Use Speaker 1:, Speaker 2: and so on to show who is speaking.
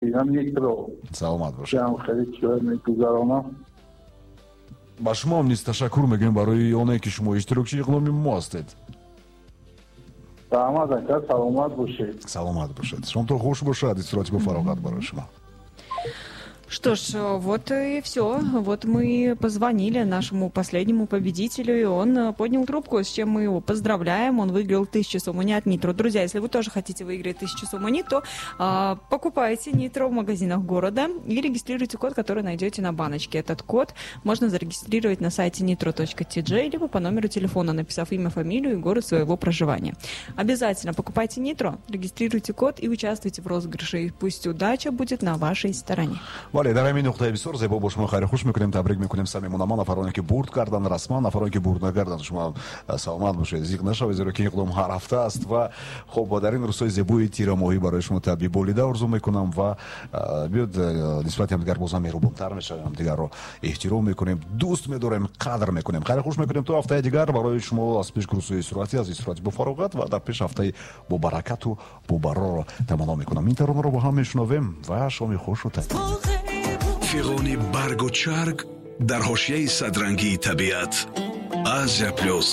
Speaker 1: Нитро.
Speaker 2: Саломат бошед.
Speaker 1: Ҳам хеле чиҳо мегузаронам.
Speaker 2: Ба шумо низ ташаккур мегӯем барои оне, ки шумо иштирокчии иқдоми мо ҳастед.
Speaker 1: Раҳмат, ака, саломат бошед.
Speaker 2: Саломат бошед, шомто хуш бошад, истироҳати бо фароғат барои шумо.
Speaker 3: Что ж, вот и все. Вот мы позвонили нашему последнему победителю, и он поднял трубку, с чем мы его поздравляем. Он выиграл 1000 сомони от Нитро. Друзья, если вы тоже хотите выиграть 1000 сомони, то покупайте Нитро в магазинах города и регистрируйте код, который найдете на баночке. Этот код можно зарегистрировать на сайте nitro.tj либо по номеру телефона, написав имя, фамилию и город своего проживания. Обязательно покупайте Нитро, регистрируйте код и участвуйте в розыгрыше. И пусть удача будет на вашей стороне.
Speaker 2: Бале, дар ҳамин нуқтаи бисёр зебо бо шумо хайру хуш мекунем, табрик мекунем самимона ман нафароне, ки бурд карданд расман, нафароне, ки бурд накарданд, шумо саломат бошед, зиқ нашавед, зеро ки иқдом ҳар ҳафта аст. Ва хуб, дар ин рӯзҳои зебои тирамоҳӣ барои шумо табъи болида орзу мекунам ва биёд, нисбати ҳамдигар бозам меҳрубонтар мешавем, ҳамдигарро эҳтиром мекунем, дӯст медорем, қадр мекунем. Хайру хуш мекунем то ҳафтаи дигар. Барои шумо аз пеш рӯзҳои истироҳатӣ, аз истироҳати бо фароғат ва дар пеш ҳафтаи бобаракату бобарорро таманно мекунам. Ин таронаро бо ҳам мешунавем ва шоми хушу
Speaker 4: Фиғони баргу чарг дар ҳошияи садрангии табиат. Азия Плюс.